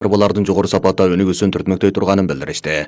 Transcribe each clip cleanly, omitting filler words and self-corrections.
чарбалардын жогору сапатта өнүгүүсүн түртмөктөй турганын билдиришти.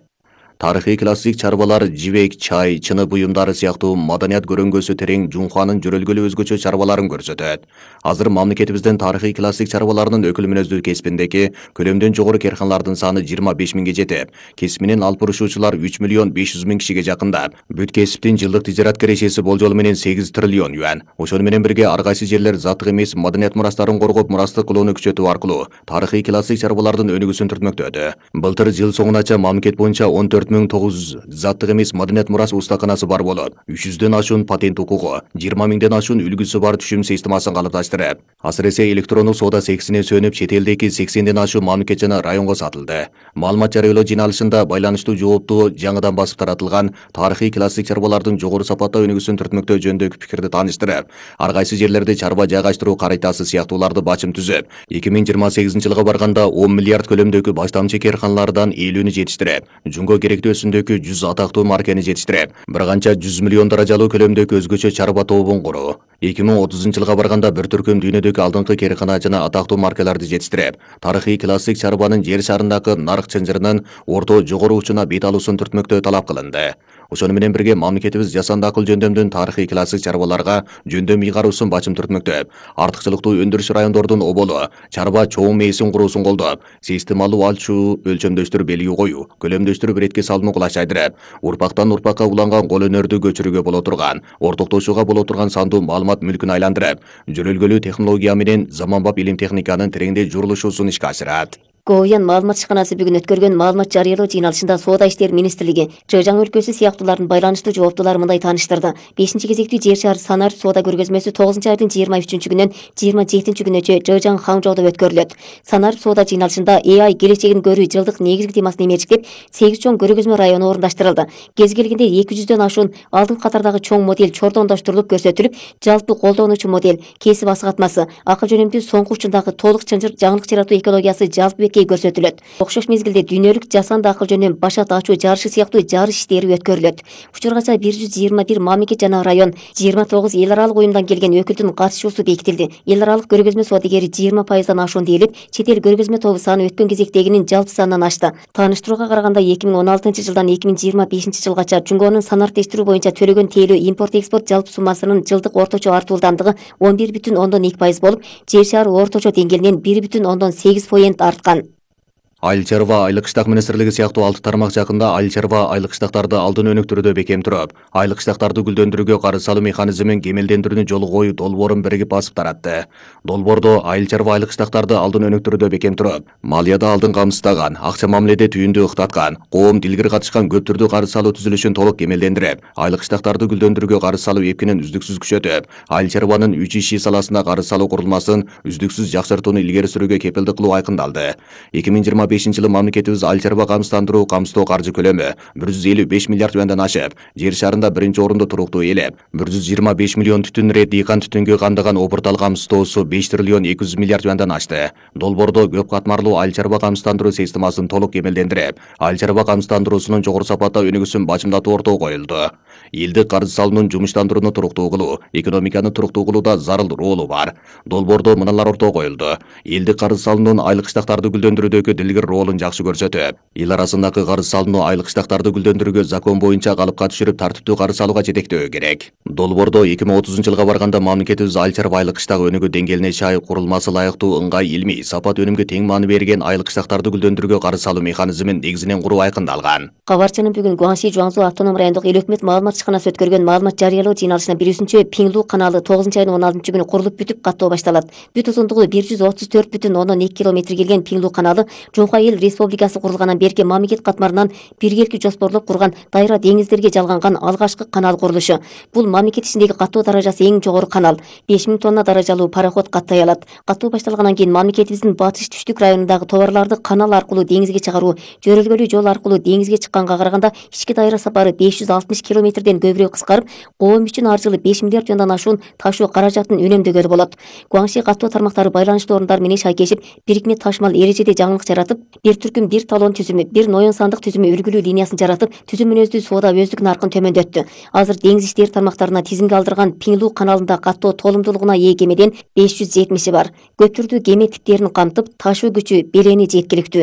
Тарыхый классик чарбалар жибек, чай, чыны буюмдары сыяктуу маданият көрөңгөсү терең Жунханын жөрөлгөлүү өзгөчө чарбаларын көрсөтөт. Азыр мамлекетибиздин тарыхый классик чарбаларынын өкүл мүнөздүү кесибиндеги көлөмдөн жогору карханалардын саны 25 миңге жетип, кесип менен алып бурушуучулар 3 миллион 500 миң кишиге жакындап, бүт кесиптин жылдык тижарат кирешеси болжолу менен 8 триллион юан. Ошону менен бирге ар кайсы жерлер заттык эмес маданият мурастарын коргоп, мурастык кылууну күчөтүү аркылуу тарыхый классик чарбалардын өнүгүүсүн түртмөктөдө. Былтыр жыл соңунача мамлекет боюнча 14.900 заттык эмес маданият мурас устаканасы бар болуп, 300дөн ашуун патент укугу, 20 миңден ашуун үлгүсү бар түшүм системасын калыпташтырып, асыресе электрондук соода сексине сөнүп, чет элдеги 80ден ашуун мамлекет жана районго сатылды. Маалымат жарыялоо жыйналышында байланыштуу жоопту жаңыдан басып таратылган тарыхый классик чарбалардын жогору сапатта өнүгүүсүн түртмөктөө жөнүндөгү пикирди тааныштырып, ар кайсы жерлерде чарба жайгаштыруу карайтасы сыяктууларды бачым түзүп, 2028-жылга барганда 10 миллиард көлөмдөгү баштамчы карханалардан 50-нү жетиштирип, жунго керектүү өсүмдөгү 100 атактуу маркени жетиштирип, бир канча 100 миллион даражалуу көлөмдөгү өзгөчө чарба тобун куруу. 2030-жылга барганда бир түркүм дүйнөдөгү алдыңкы кархана жана атактуу маркаларды жетиштирип, тарыхый классик чарбанын жер шарындагы нарык чынжырынын орто жогору учуна бет алуусун түртмөктөө талап кылынды. Ошону менен бирге мамлекетибиз жасанды акыл жөндөмдүн тарыхый классик чарбаларга жөндөм ыйгаруусун бачым түртмөктөп, артыкчылыктуу өндүрүш райондордун оболу, чарба чоң мээсин куруусун колдоп, системалуу алчуу өлчөмдөштүр белги коюу, көлөмдөштүр биретке салууну кулайчайдырып, урпактан урпакка уланган кол өнөрдү көчүрүүгө боло турган, ортоктошууга боло турган сандуу маалымат мүлкүн айландырып, жөрөлгөлүү технология менен заманбап илим техниканын тереңдей журулушуусун ишке ашырат. Говьян маалымат ишканасы бүгүн өткөргөн маалымат жарыялоо жыйналышында Соода иштери министрлиги Жыжаң өлкөсү сыяктуулардын байланыштуу жооптулары мындай тааныштырды. 5-кезектүү жер шаар санар соода көргөзмөсү 9-айдын 23-күнүнөн 27-күнүнө Жыжаң Хаңжоодо өткөрүлөт. Санар соода жыйналышында AI келечегин көрүү жылдык негизги темасын эмерчиктеп, 8 чоң көргөзмө району орундаштырылды. Кез келгенде 200дөн ашуун алдыңкы катардагы чоң модель чордондоштурулуп көрсөтүлүп, жалпы колдонуучу модель, кесип асыгатмасы, акыл жөнөмдүү соңку учундагы толук чынжыр жаңылык жаратуу экологиясы жалпы көрсөтүлөт. Окшош мезгилде дүйнөлүк жасанды акыл жөнүнөн башат ачуу жарышы сыяктуу жарыш иштери өткөрүлөт. Учургача 121 мамлекет жана район, 29 эл аралык уюмдан келген өкүлдүн катышуусу бекитилди. Эл аралык көргөзмө соодагери 20%дан ашуун дээрлеп, чет эл көргөзмө тобу саны өткөн кезектегинин жалпы санынан ашты. Тааныштырууга караганда 2016-жылдан 2025-жылгача Жунгонун санариктештирүү боюнча төлөгөн тейлөө импорт-экспорт жалпы суммасынын жылдык орточо артуулдамдыгы 11,2% болуп, жер шары орточо деңгээлинен 1,8% арткан. Айыл чарба айлык кыштак министрлиги сыяктуу 6 тармак жакында айыл чарба айлык кыштактарды алдын өнүктүрүүдө бекем туруп, айлык кыштактарды гүлдөндүрүүгө карыз салуу механизмин кемелдендирүүнү жолу коюу долбоорун биригип басып таратты. Долбоордо айыл чарба айлык кыштактарды алдын өнүктүрүүдө бекем туруп, малияда алдын камсыздаган, акча мамиледе түйүндү ыктаткан, коом дилгир катышкан көп түрдүү карыз салуу түзүлүшүн толук кемелдендирип, айлык кыштактарды гүлдөндүрүүгө карыз салуу эпкинин үздүксүз күчөтүп, айыл чарбанын 3 иши саласында карыз салуу курулмасын үздүксүз жакшыртууну илгери сүрүүгө кепилдик кылуу айкындалды. 2025-жылы мамлекетибиз айыл чарба камсыздандыруу камсыздоо каржы көлөмү 155 миллиард юандан ашып, жер шарында биринчи орунду туруктуу ээлеп, 125 миллион түтүн рет дыйкан түтүнгө кандаган опуртал камсыздоосу 5 триллион 200 миллиард юандан ашты. Долбоордо көп катмарлуу айыл чарба камсыздандыруу системасын толук кемелдендирип, айыл чарба камсыздандыруусунун жогору сапатта өнүгүүсүн бачымдатуу ортого коюлду. Элдик карыз салуунун жумуштандырууну туруктуу кылуу, экономиканы туруктуу кылууда зарыл ролу бар. Долбоордо мыналар ортого коюлду. Элдик карыз салуунун айлык кыштактарды гүлдөндүрүүдөгү дилгир ролун жакшы көрсөтүп, эл арасындагы карыз салууну айлык кыштактарды гүлдөндүрүүгө закон боюнча калыпка түшүрүп тартиптүү карыз салууга жетектөө керек. Долбоордо 2030-жылга барганда мамлекетибиз айыл чарба айлык кыштак өнүгүү деңгээлине чай курулмасы ылайыктуу ыңгай илмий сапат өнүмгө тең маани берген айлык кыштактарды гүлдөндүрүүгө карыз салуу механизмин негизинен куруу айкындалган. Кабарчынын бүгүн Гуанши Жуаңзу автоном райондук эл өкмөт маалымат ишканасы өткөргөн маалымат жарыялоо жыйналышына 1-синчи Пиңлу каналы 9-айдын 16-күнү курулуп бүтүп каттоо башталат. Бүт узундугу 134,2 километр келген Пиңлу каналы Жунха эл республикасы курулгандан берки мамлекет катмарынан биргеликти жоспорлоп курган дайра деңиздерге жалганган алгачкы канал курулушу. Бул мамлекет ичиндеги каттоо даражасы эң жогору канал. 5000 тонна даражалуу пароход каттай алат. Каттоо башталгандан кийин мамлекетибиздин батыш түштүк районундагы товарларды канал аркылуу деңизге чыгаруу, жөрөлгөлүү жол аркылуу деңизге чыкканга караганда ички дайра сапары 560 км километрден көбүрөөк кыскарып, коом үчүн ар жылы 5 миллиард жондан ашуун ташуу каражатын үнөмдөгөлү болот. Гуаңши каттоо тармактары байланыштуу орундар менен шайкешип, бирикме ташмал эрежеде жаңылык жаратып, бир түркүм бир талон түзүмү, бир ноён сандык түзүмү үлгүлүү линиясын жаратып, түзүм мүнөздүү соода өздүк наркын төмөндөттү. Азыр деңиз иштери тармактарына тизимге алдырган Пиңлу каналында каттоо толумдуулугуна ээ кемеден 570 бар. Көптүрдүү кеме типтерин камтып, ташуу күчү белени жеткиликтүү.